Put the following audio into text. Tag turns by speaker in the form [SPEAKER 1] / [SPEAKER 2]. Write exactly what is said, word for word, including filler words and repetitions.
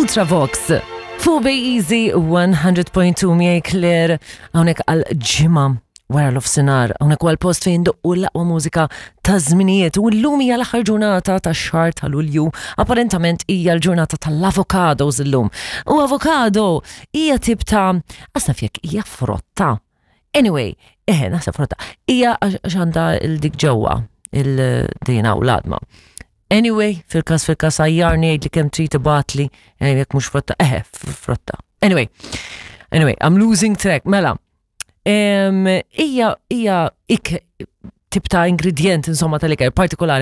[SPEAKER 1] Ultravox. Fuq Bay Easy one hundred point two miegħi Claire hawnhekk għal ġimgħa wara l-ofsinar, hawnhekk għal post fejn doqqu l-aqwa mużika ta' żminijiet u llum hija l-aħħar ġurnata ta' xahar ta' Lulju. Apparentament hija l-ġurnata tal-avocados illum. U avocado hija tip ta' asnaf jekk hija frotta. Anyway, eħe, naħseb frotta. Hija għax għandha il-dik ġewwa, il-dina u l-għadma. Anyway, fil-kas fil-kas għajjarni, għid li kemm trid ibgħatli, eh, jekk mhux frotta, eħe, frotta. Anyway, anyway, I'm losing track, mela. Hija hija ik tip ta' ingredient insomma tal-ikel partikolari.